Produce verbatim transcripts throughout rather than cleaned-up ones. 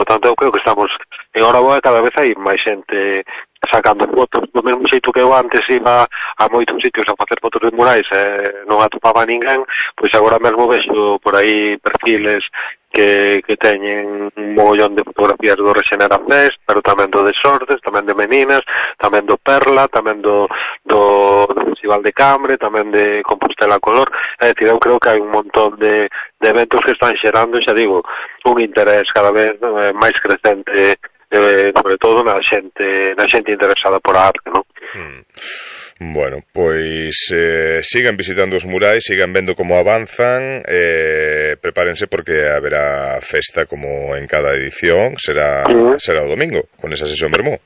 tanto, eu creo que estamos en hora boa, cada vez hai máis xente sacando fotos, do mesmo xeito que eu antes iba a moitos sitios a facer fotos de murais e non atopaba ninguén, pois agora mesmo vexo por aí perfiles que, que teñen un mogollón de fotografías do Rexenera Fest, pero tamén do de Sordes, tamén de Meninas, tamén do Perla, tamén do, do, do Festival de Cambre, tamén de Compostela Color. É dicir, eu creo que hai un montón de, de eventos que están xerando, xa digo, un interés cada vez eh, máis crecente, eh, sobre todo na xente na xente interesada por a arte, non? Hmm. Bueno, pois eh, sigan visitando os murais, sigan vendo como avanzan, eh, prepárense porque haberá festa como en cada edición, será uh-huh. será o domingo, con esa sesión vermú.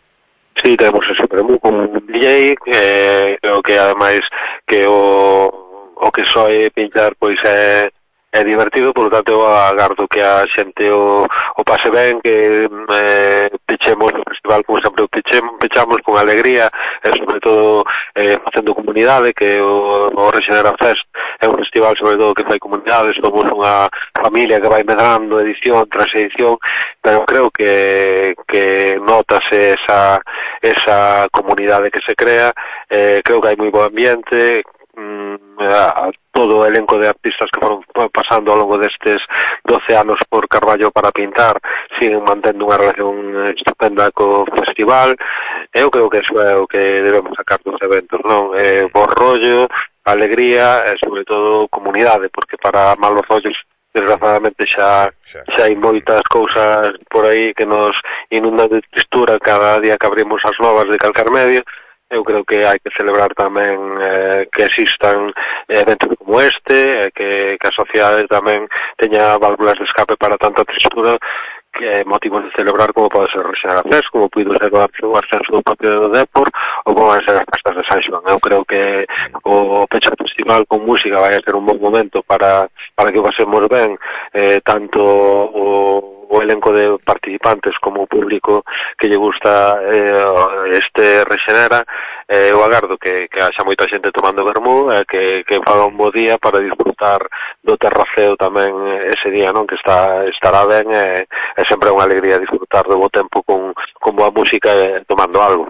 Sí, tenemos ese vermú con un D J, eh, creo que ademais que o, o que soe pinchar pois é é divertido, por lo tanto eu agardo que a xente o, o pase ben, que eh, pechemos o festival como sempre o pechemos, pechamos con alegría e sobre todo eh, facendo comunidade, que o, o Rexenera Fest é un festival sobre todo que fai comunidade, somos unha familia que vai medrando edición tras edición, pero creo que, que notase esa, esa comunidade que se crea, eh, creo que hai moi bo ambiente, a todo o elenco de artistas que foron pasando ao longo destes doce anos por Carballo para pintar siguen mantendo unha relación estupenda co festival. Eu creo que eso é o que debemos sacar dos eventos, non? Eh, bo rollo, alegría e sobre todo comunidade, porque para malos rollos desgraciadamente xa, xa xa hai moitas cousas por aí que nos inundan de tristura cada día que abrimos as novas de calcar medio. Eu creo que hai que celebrar tamén eh, que existan eventos como este, eh, que, que a sociedade tamén teña válvulas de escape para tanta tristura, que é motivo de celebrar como pode ser o Rexenera Fest, como puido ser o ascenso do Partido do Dépor, ou como van ser as festas de San Xoán. Eu creo que o pecho festival con música vai a ser un bon momento para, para que o pasemos ben, eh, tanto o o elenco de participantes como o público que lle gusta eh, este Rexenera. Eh, eu agardo que, que haxa moita xente tomando vermú e eh, que, que faga un bo día para disfrutar do terraceo tamén ese día, non? Que está, estará ben e eh, sempre é unha alegría disfrutar do bo tempo con, con boa música e eh, tomando algo.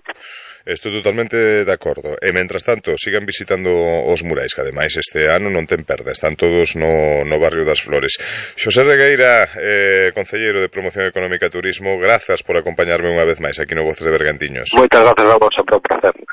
Estou totalmente de acordo. E, mentras tanto, sigan visitando os murais, que ademais este ano non ten perda. Están todos no, no barrio das Flores. Xosé Regueira, eh, concelleiro de Promoción Económica e Turismo, grazas por acompañarme unha vez máis aquí no Voces de Bergantiños. Moitas grazas a vos, sempre un placer.